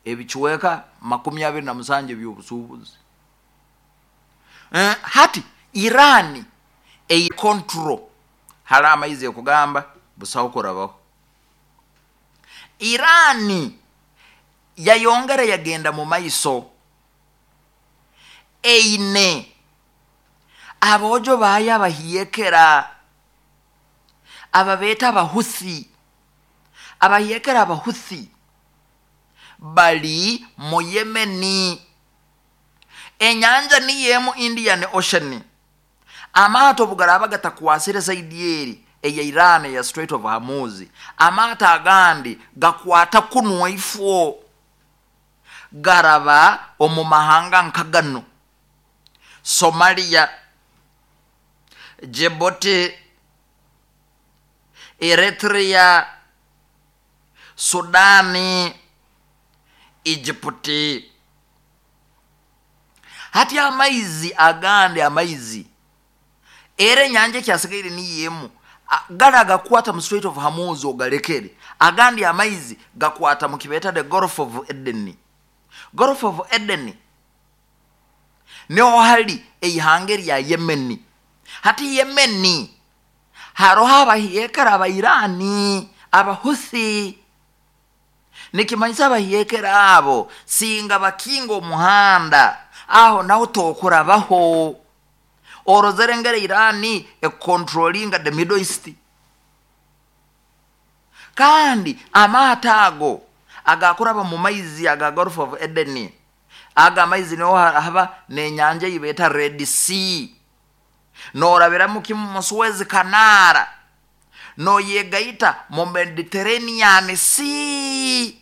Ebicweka 27 eby'obusuubuzi. Hati Iran eine control hali amaizi ekugamba busaho kurabaho. Iran yayongera yagenda mu maiso, eine aboojo baayo abahiekera ababeeta Abahuthi. Abahiekera Abahuthi bali mu Yemeni. Enyanja niyo emu Indian Ocean. Amaato obu garaaba gatakwasire saidi eri eya Iran eya Strait of Hormuz, amaato agandi gakwata kunu ifwo garaba omu mahanga nka ganu: Somalia, Djibouti, Eritrea, Sudan, Egypt. Hati amaizi agandi amaizi era enyanja ekyasigaire niyo emu, gari agakukwata mu Strait of Hormuz ogalekere, agandi amaizi gakwata mu kibeeta the Gulf of Eden. Gulf of Eden niho hari eihanga erya Yemen. Hati Yemen haroho abahiekera aba Iran, Abahuthi. Nikimanyisa abahiekera abo singa bakinga omuhanda, aho naho tokurabaho. Orozere engeri Iran econtrollinga the Middle East. Kandi amaato ago agakuraba mu maizi aga Gulf of Eden, aga amaizi niho haba n'enyanja ei beeta Red Sea. Noorabiramu kimu mu Suez Canal, nooyegaita mu Mediterranean Sea.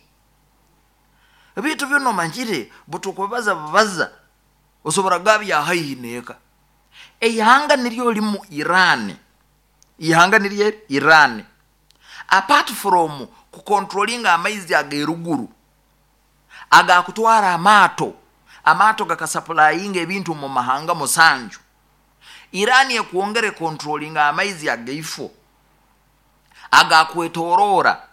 Ebintu binu omanyire butukubibaza bubaza, osobora kugabya haihi n'eka. Eihanga niryo limu Iran, ihanga niryo eri Iran. Apart from kucontrollinga amaizi ag'eruguru agakutwara amaato, amaato gakasupplyinga ebintu mu mahanga 7. Iran ekwongera econtrollinga amaizi agaifo agakwetoroora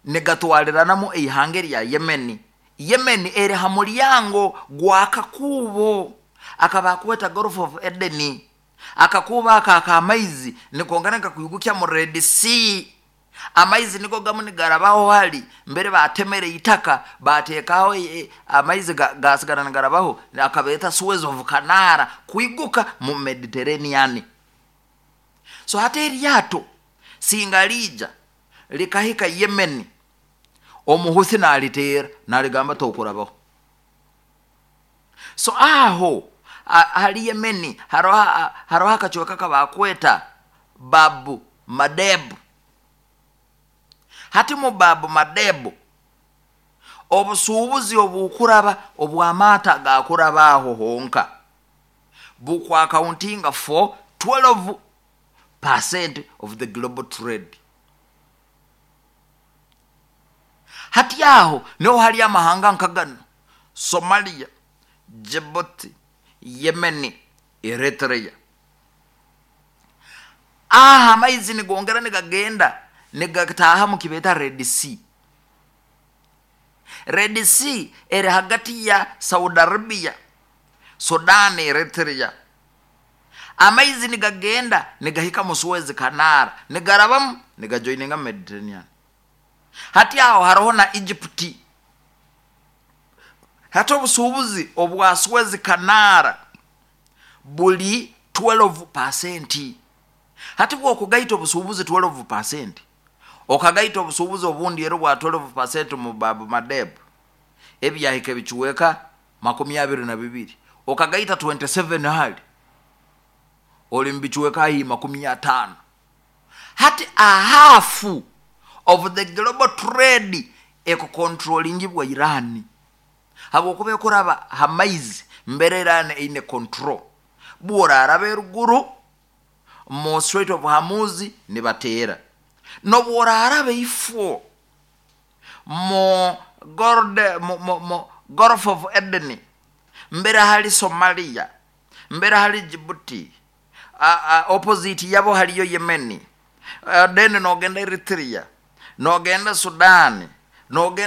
nigatwariranamu eihanga erya Yemen. Yemen eri ha muryango gw'akakuubo akabakweta Gulf of Eden. Akakuubo ako ak'amaizi nikongera nikakwigukya mu Red Sea. Amaizi nigo gamu nigarabaho hali mbere batemere itaka bateekaho amaizi gasigara nigarabaho, akabeeta Suez of Canal kwiguka mu Mediterranean. So hati eryato singa liija likahika Yemen, Omuhuthi naliteera naligamba tokurabaho. So aho hali Yemen haroho akacweka kabakweta Bab Mandeb. Hati mu Bab Mandeb obusuubuzi obukuraba obw'amaato agakuraba aho honka bukwacountinga for 12% of the global trade. Hati aho niho hari amahanga nka gano: Somalia, Djibouti, Yemen, Eritrea. Aha amaizi nigongera nigagenda nigataaha mu kibeeta Red Sea. Red Sea eri hagati ya Saudi Arabia, Sudan, Eritrea. Amaizi nigagenda nigahika mu Suez Canal, nigarabamu nigajoininga Mediterranean. Hati aho haroho na Egypt. Hati obusuubuzi obwa Suez Canal buli 12%. Hati bwokugaita obusuubuzi 12%, okagaita obusuubuzi obundi era obwa 12% mu Bab Mandeb, ebyahika ebicuweka 22, okagaita 27 hali oli mu bicuweka haihi 50. Hati a half of the global trade ekucontrollingibwa Iran, habwokuba ekuraba ha maizi mbere Iran eine control. Bworaraba eruguru mu Strait of Hormuz nibateera, nobworaraba ifo mu Gulf of Eden mbere hali Somalia, mbere hali Djibouti, opposite yabo haliyo Yemen, then nogenda Eritrea, nogenda Sudan, nogenda